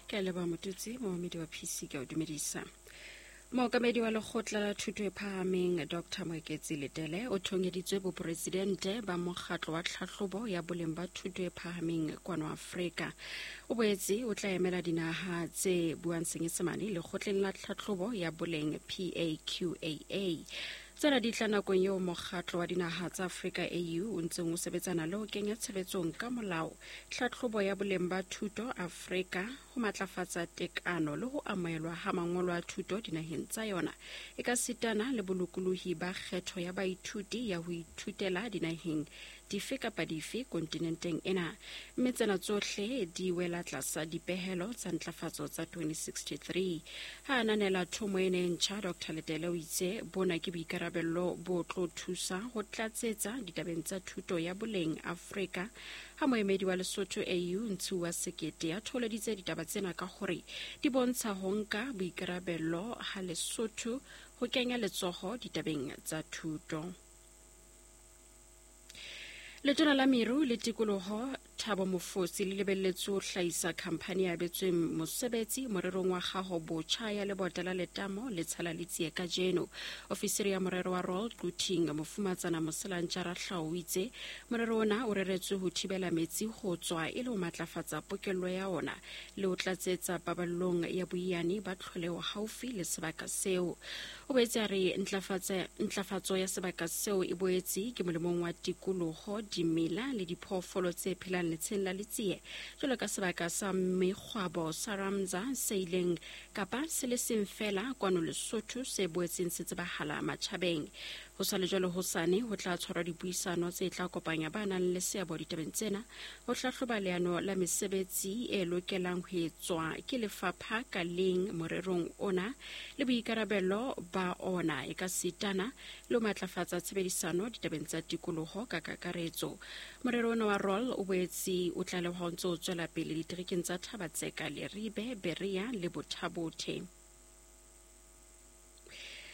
Ke a leboha Motutsi, momamedi wa PC ke a o dumedisa. Mookamedi wa lekgotla la thuto e phahameng Dr Moeketsi Letele o thongeditswe boporesidente ba mokgatlo wa tlhahlobo ya boleng ba thuto e phahameng kwano Afrika. O boetse o tla emela dinaha tse buang Senyesemane lekgotleng la tlhahlobo ya boleng PAQAA. Tsena di tla nakong eo mokgatlo wa dinaha tsa Afrika AU o ntseng o sebetsana le ho kenya tshebetsong ka molao tlhahlobo ya boleng ba thuto Afrika ho matlafatsa tekano le ho amohelwa ha mangolo a thuto dinaheng tsa yona e ka sitana le bolokolohi ba kgetho ya baithuti ya ho ithutela dinaheng dife kapa dife kontinenteng ena, mme tsena tsohle di wela tlasa dipehelo tsa ntlafatso tsa 2063. Ha ananela thomo ena e ntjha, Dr Letele o itse bona ke boikarabello bo tlo thusa ho tlatsetsa ditabeng tsa thuto ya boleng Afrika. Ha moemedi wa Lesotho AU Ntshiuwa Sekete a thoholeditse ditaba tsena ka hore di bontsha ho nka boikarabello ha Lesotho ho kenya letsoho ditabeng tsa thuto. Letona la Meru le Tikoloho Thabo Mofosi le lebelletswe ho hlahisa khamphani e abetsweng mosebetsi morerong wa kgaho botjha ya lebota la letamo le tshela le tsie kajeno. Ofisiri ya morero wa Royal Quthing Mofumatsana Moselantja Rahlao o itse morero ona o reretswe ho thibela metsi ho tswa e le ho matlafatsa pokello ya ona le ho tlatsetsa paballong ya boiyane ba tlholeho haufi le sebaka seo. O boetse a re ntlafatso ya sebaka seo e boetse ke molemong wa tikoloho, dimela le diphoofolo tse phelang letsheng la Letsie, jwalo ka sebaka sa mekgwabo sa Ramsar se ileng kapa se le seng feela kwano Lesotho se boetseng se tsebahala matjhabeng. Ho sa le jwalo hosane ho tla tshwarwa dipuisano tse tla kopanya ba nang le seabo ditabeng tsena ho hlahloba leano la mesebetsi e lokelang ho etswa ke lefapha ka leng morerong ona le boikarabelo ba ona e ka sitana le ho matlafatsa tshebedisano ditabeng tsa tikoloho ka kakaretso. Morero ona wa ROL o boetse o tlalehwa o ntse o tswela pele diterekeng tsa Thaba-Tseka, Leribe, Berea le Botha-Bothe.